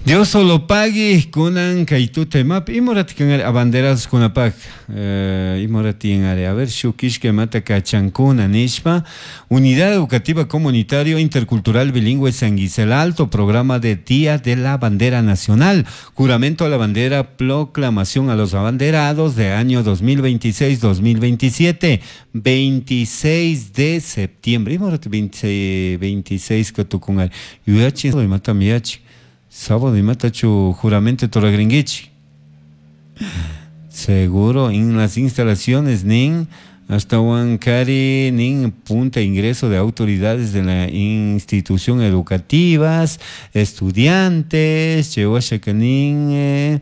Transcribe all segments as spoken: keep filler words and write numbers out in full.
Dios solo pagui kunan kay tuta imapi imorati kan abanderados kunapak eh, imorati ari a ver shuk ishkay imata kachankuna nishpa. Unidad Educativa Comunitario Intercultural Bilingüe San Gisel Alto, programa de Día de la Bandera Nacional, juramento a la bandera, proclamación a los abanderados de año dos mil veintiséis-dos mil veintisiete, veintiséis de septiembre. Imorati veintiséis, veintiséis katukun ari yuyachi imatami yachi sábado imatachu juramento toragringuichi seguro en las instalaciones nin hasta Huancari nin punta ingreso de autoridades de la institución educativas, estudiantes, nin eh,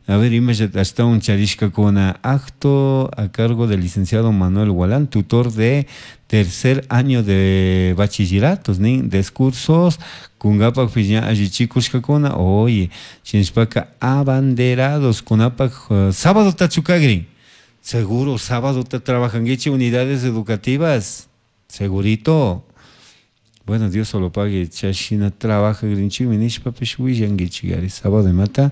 a ver, hasta un charishkakuna acto a cargo del licenciado Manuel Gualán, tutor de tercer año de bachilleratos, nin discursos kungapak piña allichikushkakuna. Oye, shinashpaka abanderados kunapak uh, sábado tachukagrin. Seguro sábado te trabajanguichi unidades educativas, segurito. Bueno, Dios solo pague, chashina trabaja grinchimi nishpapish willanguichi gari sábado imata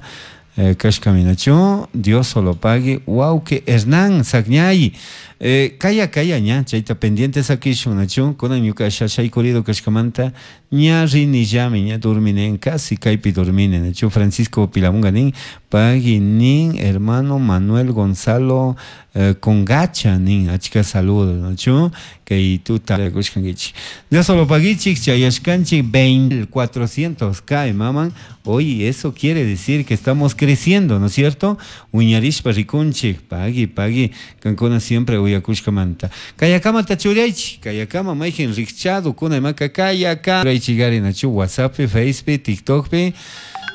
eh, kashkaminachu. Dios solo pague, wawki Hernán Sagñay, eh, kaya kaya ña chayta pendiente sakishun nachu. Kunan ñuka shashaykurido kashkamanta ña rinillami, ña dorminen, casi kaypi dormine nachu. Francisco Pilamunga nin pagui nin hermano Manuel Gonzalo eh, Congacha nin achka saludos nachu kay tuta kushkankichik. Dios solo paguichik, chayashkanchik veinte cuatrocientos K maman. Oye, eso quiere decir que estamos creciendo, ¿no es cierto? Uñarishpa rikunchik, pagui, pagui, kankuna siempre uyakushkamanta. Kayakama tachuraychik, kayakama mayjin rikchado kuna imaka kayaka. Churaychigari nachu WhatsApp, Facebook, TikTok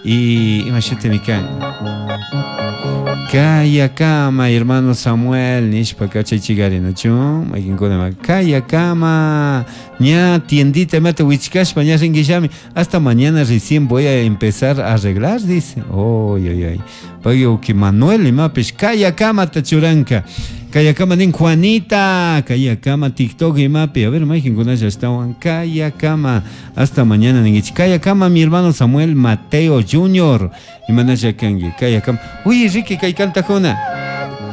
y imashutimi kan. Kayakama, hermano Samuel, nishpa kachaychigari nachu, mayjinkuna ima kayakama, ña tiendita imata wichkashpa ña ringuillami, hasta mañana recién voy a empezar a arreglar, dice. Oy, oy, oy. Pagui uki Manuel imapish kayakama tachuranka. Kayakama nin Juanita, kayakama TikTok imapi. A ver, mayjinkunalla estaban kayakama. Hasta mañana ninguichi. Kayakama mi hermano Samuel Mateo Junior. Imanalla kangi, kayakama. Uy, Ricky kay kantajuna.